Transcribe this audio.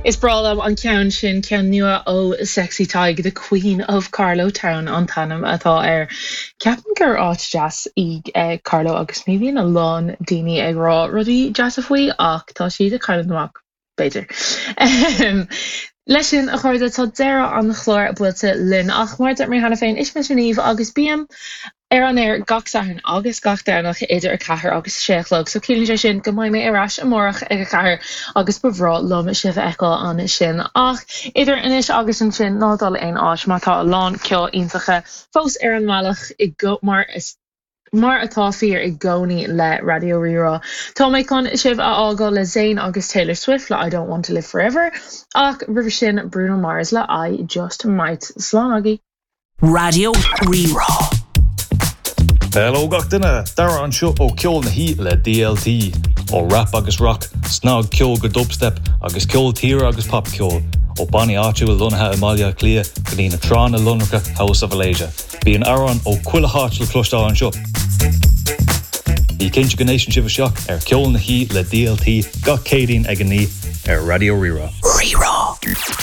Is breá liom an ceann sin, ceann nua ó Sexy Tadhg, The Queen of Carlow Town an t-ainm atá air. Ceapaim gur áit deas í Carlow agus ní bhíonn a lán daoine ag rá rudaí deasa faoi ach tá siad ag cailleadh amach, b'fhéidir. Leis sin, a chairde, tá deireadh an chláir buailte linn ach mar a dúirt mé cheana féin, is mise Niamh agus bím ar an aer gach Satharn agus gach Domhnach idir 4 agus 6 a chlog, so ciallaíonn sé sin go mbeidh mé ar ais amárach ag 4 agus ba bhreá liom sibh a fheiceáil ansin. Ach idir anois agus ansin, ná dul aon áit mar tá a lán ceol iontacha fós ar an mbealach i go mar is mar atá fíor i gcónaí le Raidió Rí-Rá. Tá mé chun sibh a fhágáil le Zayn agus Taylor Swift le I Don't Want to Live Forever ach roimhe sin Bruno Mars le I Just Might. Slán agaibh! Raidió Rí-Rá. Hello gach duine! Dara anseo ó Ceol na hOíche le DLT. Ó rap agus rock, snagcheol go dubstep agus ceol tíre agus popcheol, ó bannaí áitiúil lonnaithe i mBaile Átha Cliath go dtí na tránna lonracha House of Alasia. Bíonn amhráin ó chuile háit le cloisteáil anseo. Bí cinnte go n-éisteann sibh isteach ar Ceol na hOíche le DLT gach Céadaoin ag a 9 ar Raidió Rí-Rá. Rí-Rá.